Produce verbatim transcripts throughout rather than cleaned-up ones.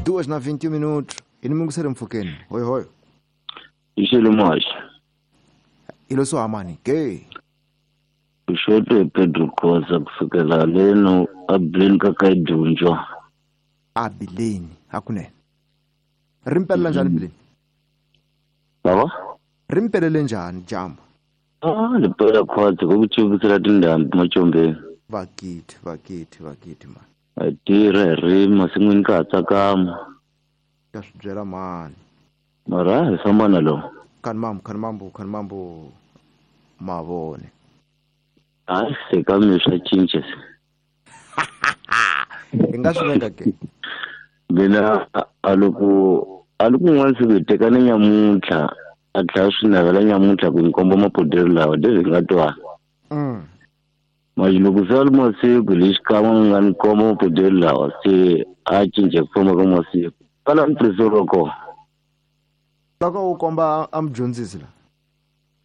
Duas na vinte e um minutos. I ni mungiseri mpfhukeni. Hoi hoi. Ixele muhaxi. I lo swo hamani ke. Uxote Pedro Khoza kusukela leno abileni ka ka dyondzo. Abileni hakunene. Ri mpelela njhani bileni? Baba? Ri mpelele njhani dyambu? Ah, li pela khwatsi ku ku chuvukisela tindhambi machombeni. Vakithi, vakithi, vakithi mani. A tirha hi rimi masin'wini ka ha tsakama. Ka swi byela mani. Mara hi famba na lowu. Khani mambo, khani mambo, khani mambo mavone. Hayi se ka mi swa cinca se. Hi nga swi veka ke? Mina a loko a loko un'wana siku hi tekane nyamuntlha a tlhela swi navela nyamuntlha ku ni komba mapodelo lawa leswi hi nga twana. Mm. Manje loko se a ri masiku lexi kan'we nga ni komba mapodelo lawa se a cinca ku famba ka masiku. Kala ntirhiso ro kona. Loko u komba a mudyondzisi la.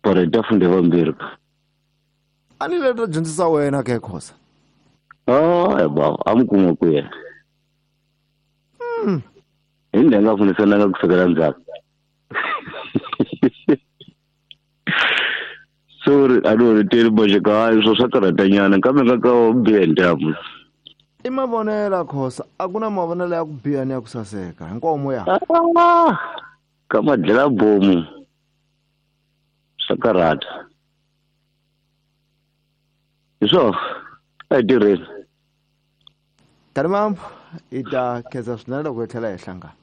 Para hi ta funda vambirhi. A ni le ta dyondzisa wena ke Khoza. Ah, baba, a mi kuma ku yena. Mm. Hi ndlela nga fundisananga ku sukela ndzhaku. Sorry, a ni holeteli boxeka hayi swo swa karhatanyana kambe nga ka wo biha ntamu. I mavonelo Khoza, a ku na mavonelo ya ku biha ni ya ku saseka. Hinkwawo moya. Ah, ka madlela bomu. Swa karhata. Hi swona, a hi tirheni. Khani mambo, hi ta khensa swinene loko hi tlhela hi hlangana.